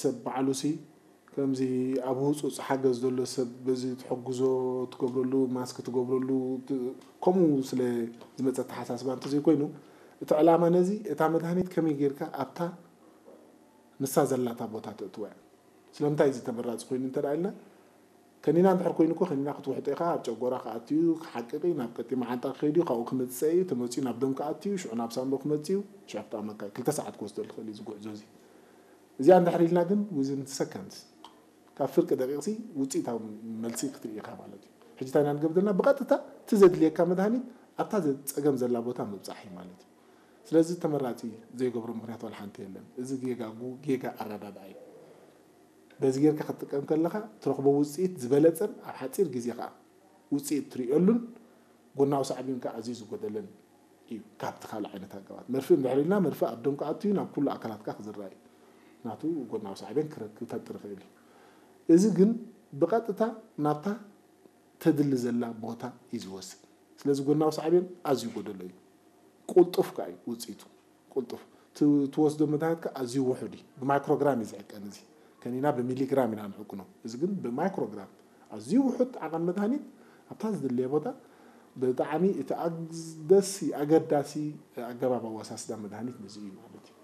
ሰብ ባዕሉ ሲ ከምዚ ኣብ ህጹጽ ሓገዝ ዘሎ ሰብ በዚ ትሕግዞ ትገብረሉ፣ ማስክ ትገብረሉ፣ ት-፣ ከምኡ ስለ ዝመጸ ኣተሓሳስባ እንተዘይኮይኑ፣ እቲ ዕላማ ነዚ፣ እታ መድሃኒት ከመይ ጌርካ ኣብታ ንሳ ዘላታ ቦታ ተእትዋ እያ። ስለምንታይ እዚ ተመራጺ ኮይኑ እንተ ደኣ ኢልና፣ ከኒና እንድሕር ኮይኑ እኮ፣ ከኒና ክትውሕጦ ኢኻ፣ ኣብ ጨጎራ ክኣትዩ፣ ክሓቅቕ እዩ፣ ናብ ቀጢ መዓንጣ ክኸይድ እዩ፣ ካብኡ ክመጽእ እዩ፣ ተመጺኡ ናብ ደም ክኣትዩ፣ ሽዑ ናብ ሳንቦ ክመጽእ እዩ፣ ሽዑ ክጠቕመካ እዩ። ክልተ ሰዓት ክወስደሉ ይኽእል እዩ እዚ ጉዕዞ እዚ። እዚኣ እንድሕር ኢልና ግን፣ within seconds፣ ካብ ፍርቂ ደቂቕሲ ውጽኢታዊ መልሲ ክትርኢ ኢኻ ማለት እዩ። ሕጂ እንታይ ኢና ንገብር ዘለና? ብቐጥታ እቲ ዘድልየካ መድሃኒት ኣብታ ዘ-፣ ጸገም ዘላ ቦታ ምብጻሕ እዩ ማለት እዩ። ስለዚ ተመራጺ ዘይገብሮ ምኽንያት ዋላ ሓንቲ የለን። እዚ ጌጋ ጉ-፣ ጌጋ ኣረዳድኣ እዩ። በዚ ጌርካ ክትጥቀም ከለኻ ትረኽቦ ውጽኢት ዝበለጸን ኣብ ሓጺር ግዜ ከኣ ውጽኢት ትርእየሉን ጎናዊ ሳዕቤን ከኣ ኣዝዩ ዝጎደለን እዩ ካብቲ ካልእ ዓይነት ኣገባብ። መርፍእ እንድሕር ኢልና መርፍእ ኣብ ደም ክኣቱ እዩ፣ ናብ ኩሉ ኣካላትካ ክዝራእ እዩ። ናቱ ጎናዊ ሳዕቤን ክረክብ ተጥሪ ይኽእል እዩ። እዚ ግን ብቐጥታ ናብታ ተድሊ ዘላ ቦታ እዩ ዝወስድ። ስለዚ ጎናዊ ሳዕቤን ኣዝዩ ጎደሎ እዩ። ቁልጡፍ ከኣ እዩ ውጽኢቱ። ቁልጡፍ። ት-፣ ትወስዶ መድሃኒት ከኣ ኣዝዩ ውሑድ እዩ። ብማይክሮግራም እዩ ዝዕቀን እዚ። ከኒና ብሚሊግራም ኢና ንዕቅኖ። እዚ ግን ብማይክሮግራም ኣዝዩ ውሑድ ዓቐን መድሃኒት ኣብታ ዝድለየ ቦታ ብጣዕሚ እቲ ኣግደሲ፣ ኣገዳሲ ኣገባብ ኣወሳስዳ መድሃኒት ነዚ እዩ ማለት እዩ።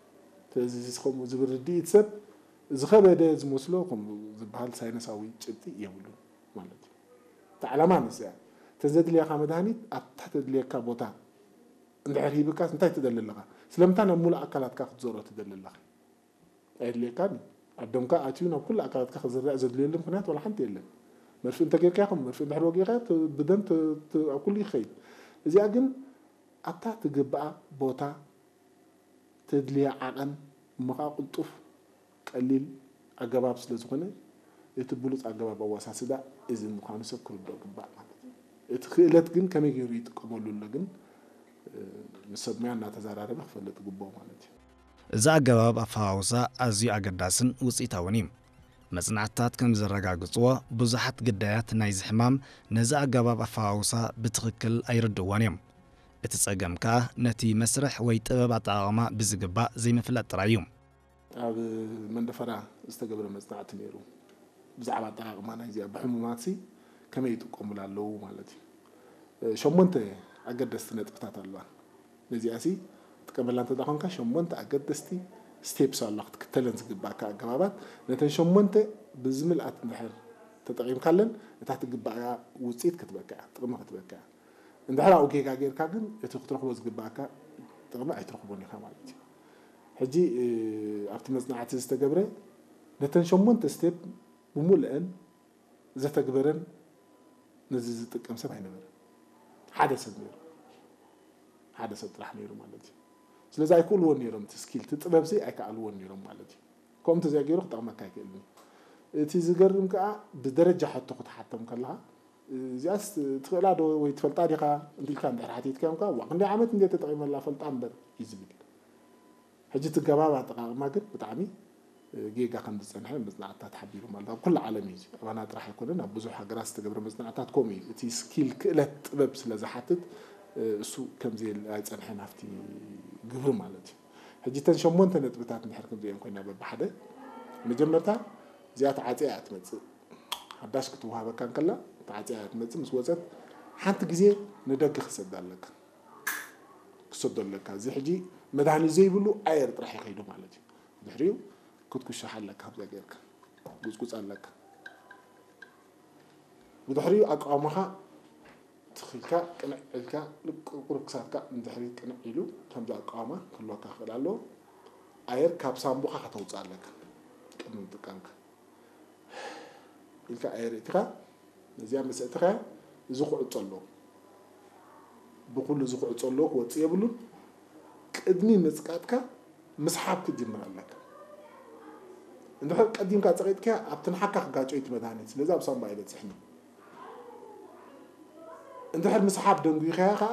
ስለዚ እዚ ከምኡ ዝብል ርድኢት ሰብ ዝኸበደ ዝመስሎ ከምኡ ዝበሃል ሳይንሳዊ ጭብጢ የብሉን ማለት እዩ። እቲ ዓላማ ንሱ እያ። እተን ዘድልያኻ መድሃኒት ኣብታ ተድልየካ ቦታ እንድሕር ሂብካስ እንታይ ትደሊ ኣለኻ? ስለምንታይ ናብ ሙሉእ ኣካላትካ ክትዞሮ ትደሊ ኣለኻ? ኣየድልየካን እዩ። ኣብ ደምካ ኣትዩ ናብ ኩሉ ኣካላትካ ክዝራእ ዘድልየሉ ምኽንያት ዋላ ሓንቲ የለን። መርፍእ እንተጌርካ ይኹን፣ መርፍእ እንድሕር ወጊእካ ት-፣ ብደም ት-፣ ት-፣ ኣብ ኩሉ ይኸይድ። እዚኣ ግን ኣብታ ትግብኣ ቦታ፣ ተድልያ ዓቐን፣ እሞ ኸዓ ቅልጡፍ፣ ቀሊል ኣገባብ ስለ ዝኾነ፣ እቲ ብሉጽ ኣገባብ ኣወሳስዳ እዚ ምዃኑ ሰብ ክርድኦ ግባእ ማለት እዩ። እቲ ክእለት ግን ከመይ ገይሩ ይጥቀመሉ ኣሎ ግን፣ እ፣ ምስ ሰብ ሞያ እናተዘራረበ ክፈልጥ ይግብኦ ማለት እዩ። እዚ ኣገባብ ኣፈዋውሳ ኣዝዩ ኣገዳስን ውጽኢታውን እዩ። መጽናዕትታት ከም ዘረጋግጽዎ፣ ብዙሓት ግዳያት ናይዚ ሕማም ነዚ ኣገባብ ኣፈዋውሳ ብትኽክል ኣይርድእዎን እዮም። እቲ ጸገም ከኣ ነቲ መስርሕ ወይ ጥበብ ኣጠቓቕማ ብዝግባእ ዘይምፍላጥ ጥራይ እዩ። ኣብ መንደፈራ ዝተገብረ መጽናዕቲ ነይሩ። ብዛዕባ ኣጠቓቕማ ናይዚኣ ብሕሙማትሲ ከመይ ይጥቀሙላ ኣለዉ ማለት እዩ። እ፣ ሸሞንተ ኣገደስቲ ነጥብታት ኣለዋ። ነዚኣሲ ትጥቀመላ እንተ ደኣ ኾንካ፣ ሸሞንተ ኣገደስቲ ስቴፕስ ኣለዋ ክትክተለን ዝግባእካ ኣገባባት። ነተን ሸሞንተ ብዝምልኣት እንድሕር ተጠቒምካለን፣ እታ ትግባኣ ውጽኢት ክትበካ እያ፣ ጥቕሚ ክትበካ እያ። እንድሕር ኣብኡ ጌጋ ጌርካ ግን፣ እቲ ክትረኽቦ ዝግባእካ ጥቕሚ ኣይትረኽቦን ኢኻ ማለት እዩ። ሕጂ፣ እ፣ ኣብቲ መጽናዕቲ ዝተገብረ፣ ነተን ሸሞንተ ስቴፕ ብምሉአን ዘተግበረን ነዚ ዝጥቀም ሰብ ኣይነበረን። ሓደ ሰብ ነይሩ። ሓደ ሰብ ጥራሕ ነይሩ ማለት እዩ። ስለዚ ኣይክእልዎን ነይሮም፣ እቲ ስኪል፣ እቲ ጥበብሲ ኣይከኣልዎን ነይሮም ማለት እዩ። ከምኡ እንተዘይገይሩ ክጠቕመካ ኣይክእልን እዩ። እቲ ዝገርም ከኣ፣ ብደረጃ ሕቶ ክትሓቶም ከለኻ፣ እዚኣስ ትኽእላ ዶ ወይ ትፈልጣ ዲኻ? እንዲልካ እንድሕር ሓቲትካዮም ከኣ፣ "ዋ፣ ክንደይ ዓመት እንድየ ተጠቒመላ፣ ፈልጣ እምበር" እዩ ዝብል። ሕጂ እቲ ኣገባብ ኣጠቓቕማ ግን ብጣዕሚ፣ እ፣ ጌጋ ከም ዝጸንሐ መጽናዕትታት ሓቢሩ ማለት ኣብ ኩሉ ዓለም እዩ። እዚ ኣባና ጥራሕ ኣይኮነን፣ ኣብ ብዙሕ ሃገራት ዝተገብረ መጽናዕትታት ከምኡ እዩ። እቲ ስኪል፣ ክእለት፣ ጥበብ ስለ ዝሓትት፣ እ፣ እሱ ከም ዘየለ ኣይጸንሐን ኣብቲ ግብሪ ማለት እዩ። ሕጂ እተን ሸሞንተ ነጥብታት እንድሕር ክንሪአን ኮይና በብሓደ፣ መጀመርታ እዚኣ ተዓጽያ እያ ትመጽእ። ሓዳሽ ክትወሃበካ እንከላ ተዓጽያ እያ ትመጽእ። ምስ ወጸት ሓንቲ ግዜ ንደገ ክሰዳ ኣለካ። ክሰዶ ኣለካ። እዚ ሕጂ መድሃኒት ዘይብሉ ኣየር ጥራሕ ይኸይዱ ማለት እዩ። ድሕሪኡ ክትኩሽሕ ኣለካ፣ ከምዚኣ ጌርካ። ጉጽጉጽ ኣለካ። ብድሕሪኡ ኣቃውማኻ ትኺልካ፣ ቅንዕ ኢልካ፣ ቁሩብ ክሳድካ ንድሕሪት ቅንዕ ኢሉ፣ ከምዚ ኣቃውማ ክህልወካ ክኽእል ኣለዎ። ኣየር ካብ ሳንቡኻ ከተውጽእ ኣለካ፣ ቅድሚ ምጥቃምካ። ኢልካ ኣየር እቲኻ፣ ነዚኣ ምስ እትኻ፣ እዚ ክዕጾ ኣለዎ። ብኹሉ እዚ ክዕጾ ኣለዎ፣ ክወጽእ የብሉን። ቅድሚ ምጽቃጥካ ምስሓብ ክትጅምር ኣለካ። እንድሕር ቀዲምካ ጸቒጥካያ፣ ኣብቲ ንሓካ ክጋጮ እዩ እቲ መድሃኒት። ስለዚ ኣብ ሳንባ ኣይበጽሕን እዩ። እንድሕር ምስሓብ ደንጒኻያ ኸኣ፣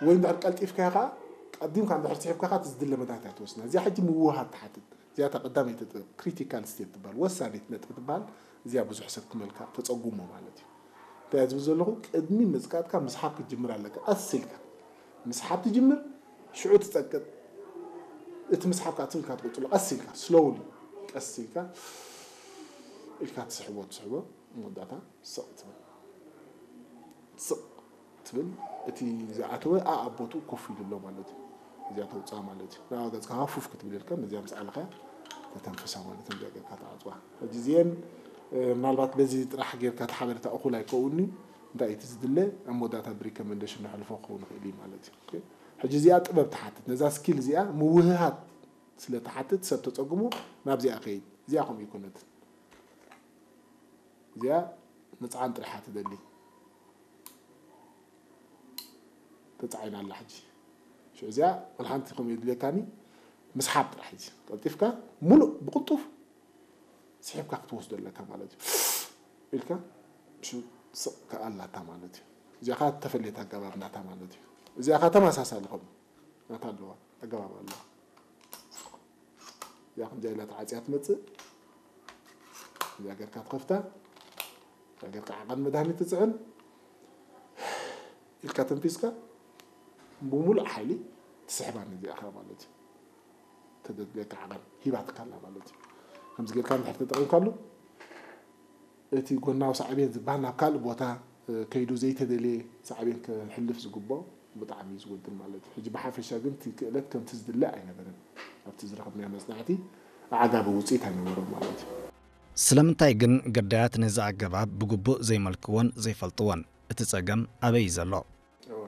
ወይ እንድሕር ቀልጢፍካያ ኸኣ፣ ቀዲምካ እንድሕር ስሒብካ ኸኣ፣ እቲ ዝድለ መድሃኒት ኣይትወስድን። እዚኣ ሕጂ ምውህሃድ ትሓትት። እዚኣ እታ ቀዳመይቲ ጥበብ፣ ክሪቲካል ስቴፕ ትበሃል፣ ወሳኒት ነጥቢ ትበሃል። እዚኣ ብዙሕ ሰብ ክመልካ ተጸጉሞ ማለት እዩ። እንታይ እየ ዝብል ዘለኹ? ቅድሚ ምጽቃጥካ ምስሓብ ክትጅምር ኣለካ። ቀስ ኢልካ ምስሓብ ትጅምር፣ ሽዑ ትጸቅጥ። እቲ ምስሓብ ከዓ ትብል ኢልካ ትቕፅሎ፣ ቀስ ኢልካ፣ ስሎውሊ፣ ቀስ ኢልካ ኢልካ ትስሕቦ፣ ትስሕቦ፣ መወዳእታ ስቕ ትብል። ስቕ ትብል፣ እቲ ዝኣተወ ኣኣብ ቦትኡ ኮፍ ኢሉ ኣሎ ማለት እዩ። እዚኣ ተውፅኣ ማለት እዩ። ንኣ ገፅካ ሃፉፍ ክትብል ኢልካ፣ ነዚኣ ምስ ዓለኻ ተተንፍሳ ማለት እዩ። እዚኣ ጌርካ ተዓፅዋ። ሕጂ እዚአን፣ እ፣ ምናልባት በዚ ጥራሕ ጌርካ እቲ ሓበሬታ እኹል ኣይከውንኒ፣ እንታይ እቲ ዝድለ ኣብ መወዳእታ ብሪከመንዴሽን ነሕልፎ ክኸውን ይኽእል እዩ ማለት እዩ። ኦኬ? ሕጂ እዚኣ ጥበብ ትሓትት። ነዛ ስኪል እዚኣ ምውህሃድ ስለ ትሓትት ሰብ ተፀግሞ ናብዚኣ ከይድ። እዚኣ ከምኡ ይኮነትን። እዚኣ ምፅዓን ጥራሕ እያ ትደሊ። ተፃዒና ኣላ ሕጂ። ሽዑ እዚኣ ወላ ሓንቲ ከምኡ የድልየካኒ፣ ምስሓብ ጥራሕ ሕጂ። ቀልጢፍካ ሙሉእ ብቕልጡፍ ስሒብካ ክትወስዶ ኣለካ ማለት እዩ። ኢልካ ሽዑ ስቕ ከኣላታ ማለት እዩ። እዚኣ ኸዓ ተፈለየት ኣገባብ ናታ ማለት እዩ። እዚኣ ኸዓ ተመሳሳሊ ከምኡ ናታ ኣለዋ፣ ኣገባብ ኣለዋ። እዚኣ ከምዚኣ ኢላ ተዓፅያ ትመፅእ። እዚኣ ጌርካ ትኸፍታ። እዚኣ ጌርካ ዓቐን መድሃኒት ትፅዕን። ኢልካ ተንፊስካ ብሙሉእ ሓይሊ ትስሕባ ነዚኣ ኸዓ ማለት እዩ። ተደድልየካ ዓቐን ሂባትካ ኣላ ማለት እዩ። ከምዚ ጌርካ እንድሕር ተጠቒምካሉ፣ እቲ ጎናዊ ሳዕቤን ዝበሃል ናብ ካልእ ቦታ፣ እ፣ ከይዱ ዘይተደልየ ሳዕቤን ከሕልፍ ዝግብኦ ብጣዕሚ እዩ ዝጎድል ማለት እዩ። ሕጂ ብሓፈሻ ግን እቲ ክእለት ከምቲ ዝድለ ኣይነበረን። ኣብቲ ዝረኸብናዮ መጽናዕቲ ኣዕጋቢ ውጽኢት ኣይነበሮን ማለት እዩ። ስለምንታይ ግን ግዳያት ነዚ ኣገባብ ብግቡእ ዘይመልክዎን ዘይፈልጥዎን? እቲ ጸገም ኣበይ እዩ ዘሎ? እወ።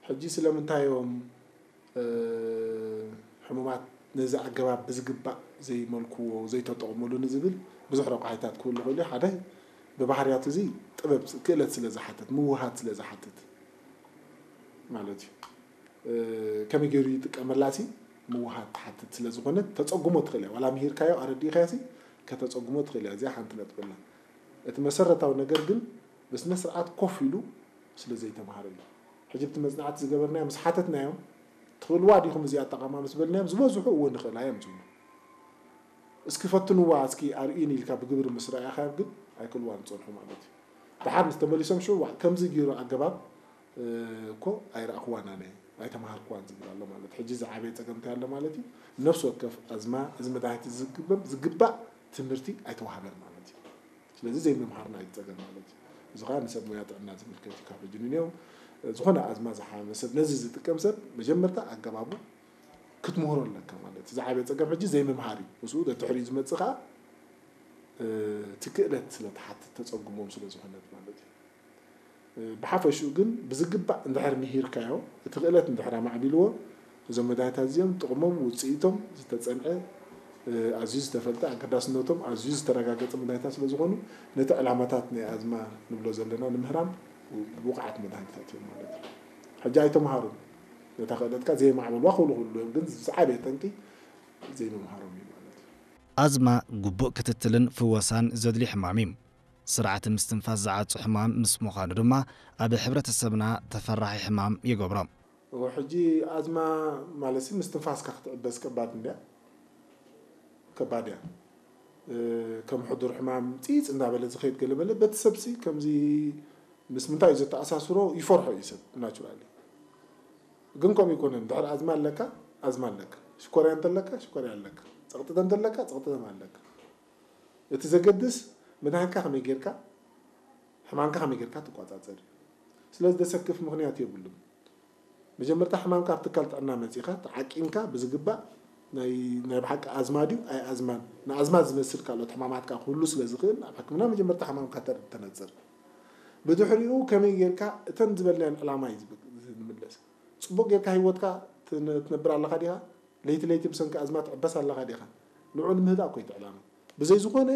ሕጂ ስለምንታይ እዮም፣ እ፣ ሕሙማት ነዚ ኣገባብ ብዝግባእ ዘይመልክዎ፣ ዘይተጠቕምሉ ንዝብል ብዙሕ ረቋሒታት ክህሉ ይኽእሉ። ሓደ፣ ብባህርያቱ እዚ ጥበብ፣ ክእለት ስለ ዝሓትት፣ ምውሃድ ስለ ዝሓትት ማለት እዩ። እ፣ ከመይ ገይሩ ይጥቀመላሲ ምውሃድ ትሓትት ስለ ዝኾነት፣ ተጸጉሞ ትኽእል እያ። ዋላ ምሂርካዮ፣ ኣረዲእካዮሲ፣ ከተጸጉሞ ትኽእል እያ። እዚኣ ሓንቲ ነጥቢ ኣላ። እቲ መሰረታዊ ነገር ግን ብስነ ስርዓት ኮፍ ኢሉ ስለ ዘይተምሃረ እዩ። ሕጂ ብቲ መጽናዕቲ ዝገበርናዮ ምስ ሓተትናዮም፣ "ትኽእልዋ ዲኹም እዚኣ ኣጠቓቕማ?" ምስ በልናዮም፣ ዝበዝሑ "እወ ንኽእላ" እዮም ዝብሉ። "እስኪ ፈትንዋ፣ እስኪ ኣርእዩኒ" ኢልካ ብግብሪ ምስ ረኣኻዮም ግን ኣይክእልዋን ዝጸንሑ ማለት እዩ። ደሓር ምስ ተመሊሶም ሽዑ፣ "ዋእ፣ ከምዚ ገይሩ ኣገባብ፣ እ፣ እኮ ኣይረኣኽዋን ኣነ፣ ኣይተምሃርክዋን" ዝብል ኣሎ ማለት እዩ። ሕጂ ዝዓበየ ጸገም እንታይ ኣሎ ማለት እዩ? ነፍሲ ወከፍ ኣዝማ እዚ መድሃኒት ዝግበም፣ ዝግባእ ትምህርቲ ኣይተዋህበን ማለት እዩ። ስለዚ ዘይምምሃርና እዩ ዝጸገም ማለት እዩ። እዚ ኸኣ ንሰብ ሞያ ጥዕና ዝምልከት እዩ። ካብ ሕጂ ንንየው ዝኾነ ኣዝማ ዝሓመመ ሰብ፣ ነዚ ዝጥቀም ሰብ መጀመርታ ኣገባቡ ክትምህሮ ኣለካ ማለት እዩ። ዝዓበየ ጸገም ሕጂ ዘይምምሃር እዩ። ምስኡ ተትሕሪኡ ዝመጽእ ኸኣ፣ እ፣ እቲ ክእለት ስለ ትሓትት ተጸጉሞም ስለ ዝኾነት ማለት እዩ። እ፣ ብሓፈሽኡ ግን ብዝግባእ እንድሕር ምሂርካዮ፣ እቲ ክእለት እንድሕር ኣማዕቢልዎ፣ እዞም መድሃኒታት እዚኦም ጥቕሞም፣ ውጽኢቶም ዝተጸንዐ፣ እ፣ ኣዝዩ ዝተፈልጠ፣ ኣገዳስነቶም ኣዝዩ ዝተረጋገጸ መድሃኒታት ስለ ዝኾኑ፣ ነቲ ዕላማታት ናይ ኣዝማ ንብሎ ዘለና ንምህራም ብቑዓት መድሃኒታት እዮም ማለት እዩ። ሕጂ ኣይተምሃሩን። ነታ ክእለትካ ዘየማዕበልዋ ክብሉ ክህልዉ እዮም፣ ግን ዝዓበየ ጠንቂ ዘይምምሃሮም እዩ ማለት እዩ። ኣዝማ ግቡእ ክትትልን ፍወሳን ዘድልዮ ሕማም እዩ። ስርዓተ ምስትንፋስ ዝዓጹ ሕማም ምስ ምዃኑ ድማ ኣብ ሕብረተሰብና ተፈራሒ ሕማም ይገብሮ። እወ፣ ሕጂ ኣዝማ ማለትሲ ምስትንፋስካ ክትዕበስ ከባድ እንድያ። ከባድ እያ። እ፣ ከም ሕዱር ሕማም ጺጽ እንዳበለ ዝኸይድ ገለ መለ በቲ ሰብሲ ከምዚ ምስ ምንታይ እዩ ዘተኣሳስሮ ይፈርሖ እዩ ሰብ ናቹራሊ። ግን ከምኡ ይኮነን። ድሕሪ ኣዝማ ኣለካ፣ ኣዝማ ኣለካ። ሽኮርያ እንተለካ፣ ሽኮርያ ኣለካ። ጸቕጢ እንተለካ፣ ጸቕጢ ኣለካ። እቲ ዘገድስ መድሃኒትካ ከመይ ጌርካ፣ ሕማምካ ከመይ ጌርካ ትቆጻጸር እዩ። ስለዚ ዘሰክፍ ምኽንያት የብሉን። መጀመርታ ሕማምካ ኣብ ትካል ጥዕና መጺኻ፣ ተዓቂንካ ብዝግባእ ናይ፣ ናይ ብሓቂ ኣዝማ ድዩ ኣይ ኣዝማን፣ ንኣዝማ ዝመስል ካልኦት ሕማማትካ ክህሉ ስለ ዝኽእል፣ ኣብ ሕክምና መጀመርታ ሕማምካ ተር-፣ ተነጽር። ብድሕሪኡ ከመይ ጌርካ እተን ዝበልናየን ዕላማ እዩ ዝብ-፣ ንምለስ። ጽቡቕ ጌርካ ህይወትካ ትነ-፣ ትነብር ኣለኻ ዲኻ? ለይቲ ለይቲ ብሰንኪ ኣዝማ ትዕበስ ኣለኻ ዲኻ? ንዑ ንምህዳእ እኮ እዩ እቲ ዕላማ። ብዘይ ዝኾነ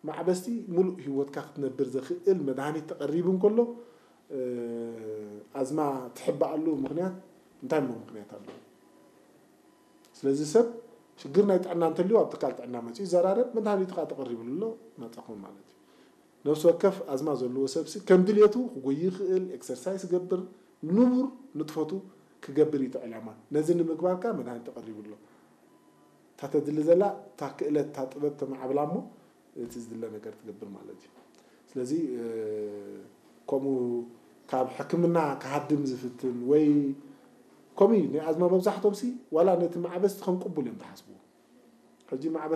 ማዕበስቲ ሙሉእ ህይወትካ ክትነብር ዘኽእል መድሃኒት ተቐሪቡ እንከሎ፣ እ፣ ኣዝማ ትሕበኣሉ ምኽንያት እንታይ እሞ ምኽንያት ኣሎ? ስለዚ ሰብ ሽግር ናይ ጥዕና እንተልዩ ኣብ ትካል ጥዕና መጺኡ ይዘራረብ፣ መድሃኒቱ ከኣ ተቐሪብሉ ኣሎ፣ ናጻ ኮን ማለት እዩ። ነፍሲ ወከፍ ኣዝማ ዘለዎ ሰብሲ ከም ድልየቱ ክጎይ ይኽእል፣ ኤክሰርሳይስ ይገብር፣ ንቡር ንጥፈቱ ክገብር እዩ እቲ ዕላማ። ነዚ ንምግባር ከኣ መድሃኒት ተቐሪቡ ኣሎ። እታ ተድሊ ዘላ እታ ክእለት፣ እታ ጥበብ ተማዕብላ እሞ እቲ ዝድለ ነገር ትገብር ማለት እዩ። ስለዚ፣ እ፣ ከምኡ ካብ ሕክምና ክሃድም ዝፍትን ወይ ከምኡ እዩ ናይ ኣዝማ መብዛሕቶም ሲ ዋላ ነቲ ማዕበስቲ ከም ቅቡል እዮም ዝሓስብዎ። ሕጂ ማዕበስ